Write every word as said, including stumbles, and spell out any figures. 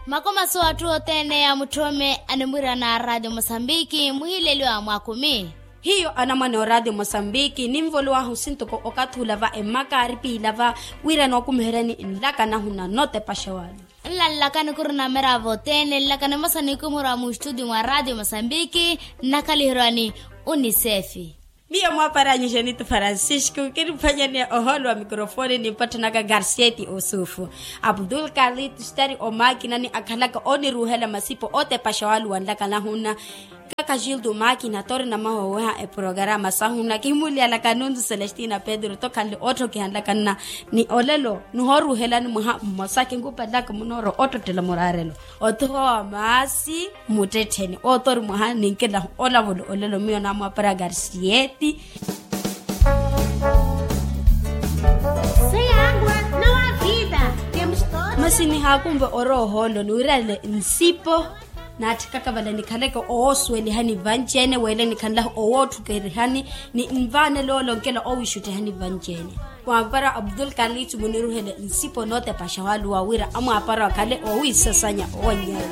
Makomaso atthu othene a mutthome animwirana a ratio mosambiki muhileliwa mwakhumi. Hiyo anamwane o ratio mosambiki ninvolowahu sintoko okathi ula va emmaka aripiila va wira nookumiheryani nlaka nahuna notepaxa walo. Nla nlakani khuri nameravo othene nlakani emosa nikumurwa mustuti mwa ratio mosambiki. Nnakaliherwani unisefi. Miyo mwaaparanyu janito francisco kiniphwanyani ohoolo wa mikrofoni nimpatthanaka garsieti osufu. Abdul khalid stari omakinani akhalaka oniruuhela masipo otepaxa waluwanlaka nahuna. Kaka jildo makina tori namahoweha eprogarama sahuna kihimulyalaka nuntu celestina pedro tokhanle otthokihanlakanna. Ni olelo nihooruuhelani mwaha mmosa kinkupelaka munooro ottottela muraarelo. Otthowa maasi muttettheni otori mwaha ninkilahu olavula olelo miyo namwapara garsieti. Masi nihaakumve orowa ohoolo niwirale nsipo. Naatthikaka vale nikhaleke owoosuwelihani vanci-ene wele nikhanlahu owootthukerihani. Ni nvaanele ole onkela owiixutthihani vanci-ene. Mwaapara abdul khalid muniruhele nsipo nootepaxa waluwa wira amwaapara akhale owiisasanya owannyaya.